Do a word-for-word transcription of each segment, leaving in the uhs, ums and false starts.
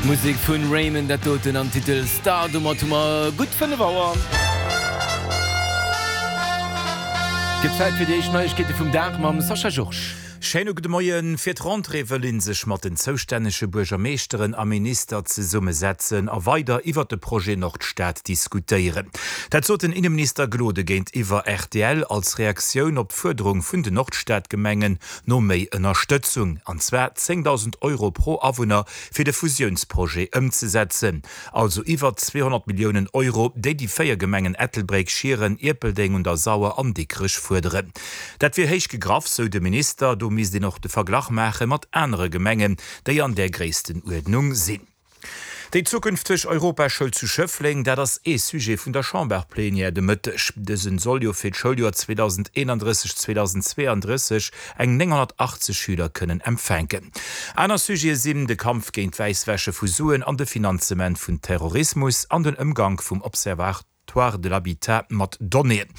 Musek vun Raymond, dat doten am Titel Star. Domat hu mer gutt fënnef Auer. Gëtt Zäit fir déi éischt Neiegkeete vum Dag mam Sascha Georges. Schéine gudde Moien. Fir d'Rentrée wëll ee sech mat den zoustännege Buergermeeschteren a Minister zesummesetzen a weider iwwert de Projet Nordstad diskutéieren. Dat sot den Inneminister Gloden géintiwwer rtl als Reaktioun op d'Fuerderung vun den Nordstadgemengen no méi Ënnerstëtzung, an zwar zéngdausend Euro pro Awunner, fir de Fusiounsprojet ëmzesetzen. Also iwwer zweehonnert Milliounen Euro, déi déi véier Gemengen Ettelbréck, Schieren, Ierpeldeng un der Sauer an Dikrech fuerderen. Dat wier héich gegraff, sou de Minister. Do misst een och de Verglach maache mat anere Gemengen, déi an där Gréisstenuerdnung sinn. Déi zukünfteg Europaschoul zu Schëffleng, dat ass ee Sujet vun der Chamberplenière de Mëtteg. Dësen soll jo fir d'Schouljoer zweedausendeenandrësseg zweedausendzweeandrësseg eng nénghonnertachtzeg Schüler kënnen empfänken. Aner Sujete sinn de Kampf géint d'Wäisswäsche vu Suen an de Finanzement vun Terrorismus an den Ëmgank vum Observatoire de l'habitat mat Donnéeën.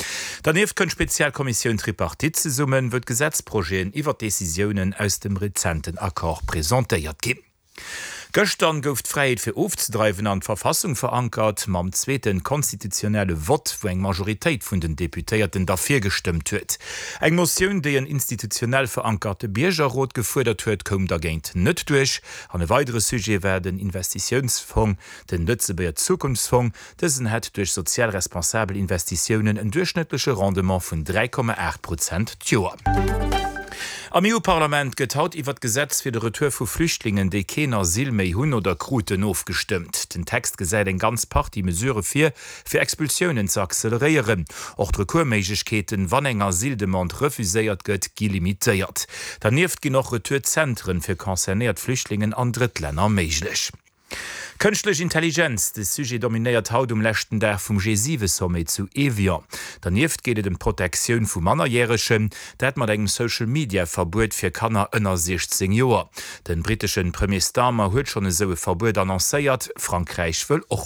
Dernieft kënnt d'Spezialkommissioun Tripartite zesummen, wou d'Gesetzprojeten iwwer d'Decisiounen aus dem rezenten Accord presentéiert ginn. Gëschtern gouf d'Fräiheet fir ofzedreiwen an d'Verfassung verankert, mam zweete konstitutionelle Vott, wou eng Majoritéit vun den Deputéierten derfir gestëmmt huet. Eng Motioun, déi en institutionell verankerte Biergerrot gefuerdert huet, koum dergéint net duerch. An e weidere Sujet war den Investitiounsfong, den Lëtzebuerger Zukunftsfong. Dësen hätt duerch sozial responsabel Investitiounen en duerchschnëttleche Rendement vun dräi Komma aacht Prozent d'Joer. Am E U-Parlament gëtt haut iwwer d'Gesetz fir de Retour vu Flüchtlingen, déi keen Asyl méi hunn oder kruten, ofgestëmmt. Den Text gesäit eng ganz Partie Mesurë vir, fir Expulsiounen ze acceleréieren. Och d'Recoursméiglechkeeten, wann eng Asyldemande refuséiert gëtt, gi limitéiert. Dernieft ginn och Retour-Zentren fir concernéiert Flüchtlingen an Drëttlänner méiglech. Kënschtlech Intelligenz, de Sujet dominéiert haut um leschten Dag vum G siwe Sommet zu Evian. Dernieft geet et ëm d'Protektioun vu Mannerjäregen, dat mat engem Social Media Verbuet fir Kanner ënner siechzéng Joer. De britteschen Premier Starmer huet schonn esou e Verbuet annoncéiert, Frankräich wëll och